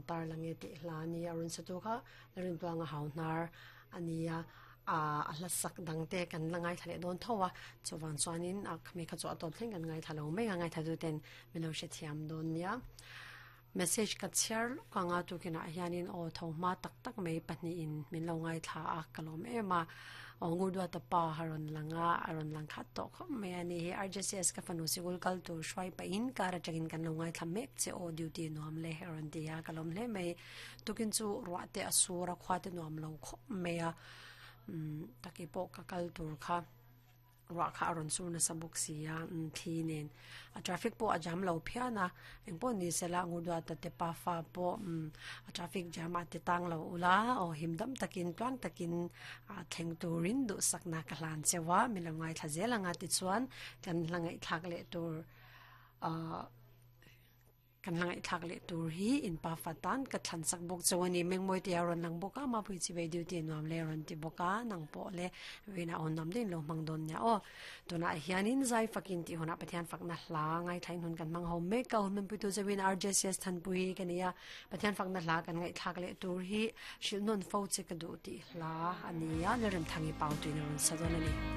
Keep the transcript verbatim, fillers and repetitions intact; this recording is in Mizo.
tar lange ti hla ni arun satu kha rin tuanga haunar ania a a hla sak dangte kan langai thale don thowa chuwan chuanin a khmi kha chu atop thleng kan ngai thalo mai ngai thadu ten milo she thiam don nia message ka chiar ka nga tu kina hianin o tho ma tak tak mai pahnih in min lo ngai thla a kalom ema o ngurdua ta pa haron langa aron lang khat to kho me ani hi R J C S ka fanu sigul kal tu shwai pa in kara changin kan lo ngai thla mek che o duty nuam le haron tia kalom hle mai tukin chu ro te asura khwa te nuam lo kho me a um taki po ka kal tur kha ra kha aron sur na sabuk sia thi nen a traffic po a jam lo phiana engpo ni sela ngudwa ta te pa fa po a traffic jam a te tang lo ula o himdam takin tlang takin a thleng turin du sakna ka hlan chewa milongai thazela nga ti chuan kan hlangai thak le tur a kan langai thak le tur hi in pa fatan ka thlan sak bok chawani mengmoi te aron lang boka ma pui chi ve duty nuam le ron ti boka nang po le vena on nam din lo mang don nya o tuna hianin zai fakin ti hona Pathian fakna hla ngai thain hun kan mang ho me ka hun pui tu zawin R J C S than pui kania Pathian fakna hla kan ngai thak le tur hi shil non fo che ka du ti hla ania le rem thangi pau tu ni ron sadon ani.